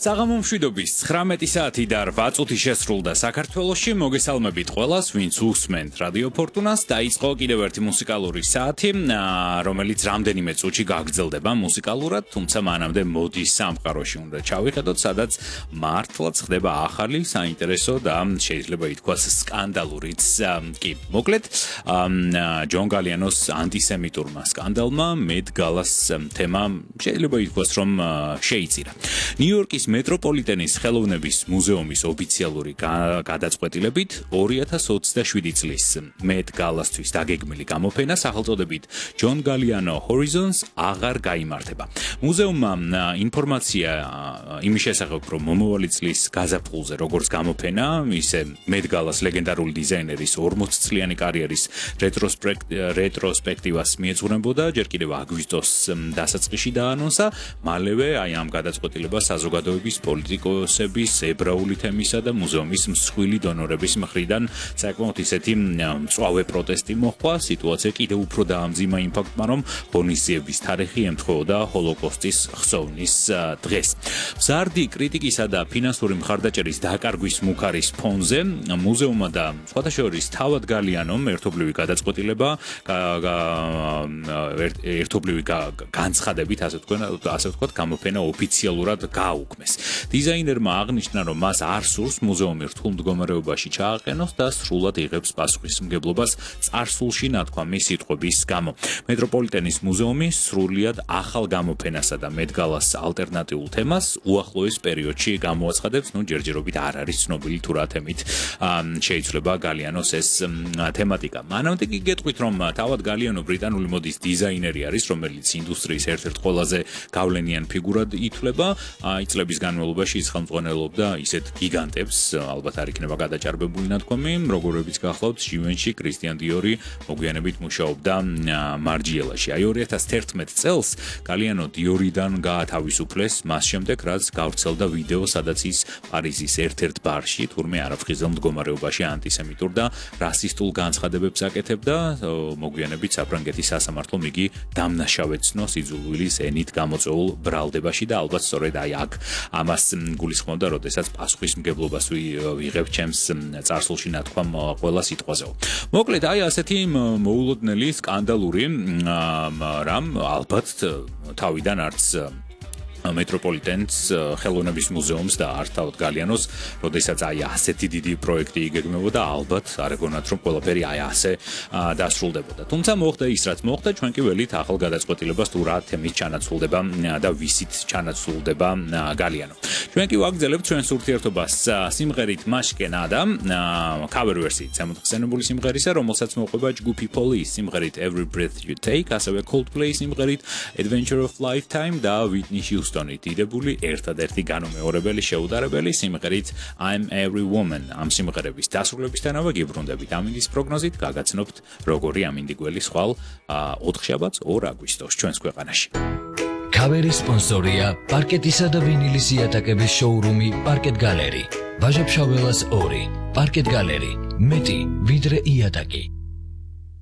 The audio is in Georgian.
საღამო მშვიდობის 19 საათი და 8 წუთი შესრულდა საქართველოში. მოგესალმებით ყველას, ვინც უსმენთ რადიო ფორტუნას. დაიწყო კიდევ ერთი მუსიკალური საათი, რომელიც რამდენიმე წუთში გაგრძელდება მუსიკალურად, თუმცა მანამდე მოდის სამყაროში უნდა ჩავიხედოთ, სადაც მართლაც ხდება ახალი, საინტერესო და შეიძლება ითქვას სკანდალურიც კი. მოკლედ, ჯონ გალიანოს ანტისემიტურმა სკანდალმა მეტ გალას თემა შეიძლება ითქვას რომ შეიწირა. ნიუ-იორკის მეტროპოლიტენის ხელოვნების მუზეუმის ოფიციალური გადაწყვეტილებით 2027 წლის მეტ გალასთვის დაგეგმილი გამოფენა სახელწოდებით ჯონ გალიანო Horizons აღარ გაიმართება. მუზეუმმა ინფორმაცია იმის შესახებ, რომ მომავალი წლის გაზაფხულზე როგორც გამოფენა, ისე მეტ გალას ლეგენდარული დიზაინერის 40 წლიანი კარიერის რეტროსპექტივას მიეძღვნებოდა, ჯერ კიდევ აგვისტოს დასაწყისში დაანონსა, მალევე ამ გადაწყვეტილებას საზოგადოების, პოლიტიკოსების, ებრაული თემისა და მუზეუმის მსხვილი დონორების მხრიდან საკმაოდ ისეთი მწვავე პროტესტი მოჰყვა. სიტუაცია კიდევ უფრო დაამძიმა იმ ფაქტმა, რომ ღონისძიების თარიღი ემთხვეოდა ჰოლოკოსტის ხსოვნის დღეს. მზარდი კრიტიკისა და ფინანსური მხარდაჭერის დაკარგვის მუქარის ფონზე მუზეუმმა და სხვათა შორის თავად გალიანომ ერთობლივი გადაწყვეტილება ერთობლივი განცხადებით ასე ვთქვათ გამოფენა ოფიციალურად გააუქმეს. დიზაინერმა აღნიშნა, რომ მას არ სურს მუზეუმი რთულ მდგომარეობაში ჩააყენოს და სრულად იღებს პასუხისმგებლობას წარსულში ნათქვამის სიტყვების გამო. მეტროპოლიტენის მუზეუმი სრულიად ახალ გამოფენასა და მეტ გალას ალტერნატიულ თემას უახლოეს პერიოდში გამოაცხადებს. ჯერჯერობით არ არის ცნობილი თუ რა თემით შეიცვლება გალიანოს ეს თემატიკა. მანამდე კი გეტყვით, რომ თავად გალიანო ბრიტანული მოდის დიზაინერი არის, რომელიც ინდუსტრიის ერთ-ერთ ყველაზე გავლენიან ფიგურად ითვლება. წლების განმავლობაში ის ხელმძღვანელობდა ისეთ გიგანტებს, ალბათ არ იქნება გადაჭარბებული ნათქვამი, როგორებიც გახლავთ ჟივენში, კრისტიან დიორი, მოგვიანებით მუშაობდა მარჯიელაში. 2011 წელს გალიანო დიორიდან გაათავისუფლეს, მას შემდეგ რაც გავრცელდა ვიდეო, სადაც ის პარიზის ერთ-ერთ ბარში, თურმე არაფხიზელ მდგომარეობაში ანტისემიტურ და რასისტულ განცხადებებს აკეთებდა. მოგვიანებით საფრანგეთის სასამართლომ იგი დამნაშავედ ცნო სიძულვილის ენით გამოწვეულ ბრალდებაში და ალბათ სწორედ აქ ამას გულისხმობდა, როდესაც პასუხისმგებლობას ვიღებ ჩემს წარსულში ნათქვამ ყველა სიტყვაზე. მოკლედ, ასეთი მოულოდნელი სკანდალური რამ ალბათ თავიდან არც მეტროპოლიტენს ხელოვნების მუზეუმს და არ თავად გალიანოს, როდესაც ასეთი დიდი პროექტი იგეგმებოდა, ალბათ არ ეგონათ რომ ყველაფერი ასე დასრულდებოდა. თუმცა მოხდა ის, რაც მოხდა, ჩვენ კი ველით ახალ გადაწყვეტილებას თუ რა თემის ჩანაცვლდება და ვისით ჩანაცვლდება გალიანო. ჩვენ კი ვაგრძელებთ ჩვენს ურთიერთობას სიმღერით Mashkenada, cover version შემოხსენებული სიმღერისა, რომელსაც მოყვება ჯგუფი Police სიმღერით Every Breath You Take, ასევე Coldplay სიმღერით Adventure of Lifetime და Whitney Houston დიდებული ერთადერთი განუმეორებელი შეუდარებელი სიმღერით I'm Every Woman. ამ სიმღერების დასრულებისთანავე გიბრუნდებით ამინდის პროგნოზით, გაგაცნობთ როგორი ამინდი გველი სხვალ 4 შაბათს 2 აგვისტოს ჩვენს ქვეყანაში. Cover-ის სპონსორია პარკეტისა და ვინილის იატაკების შოურუმი Parket Gallery. ვაჟა-ფშაველას 2. Parket Gallery. მეტი ვიდრე იატაკი.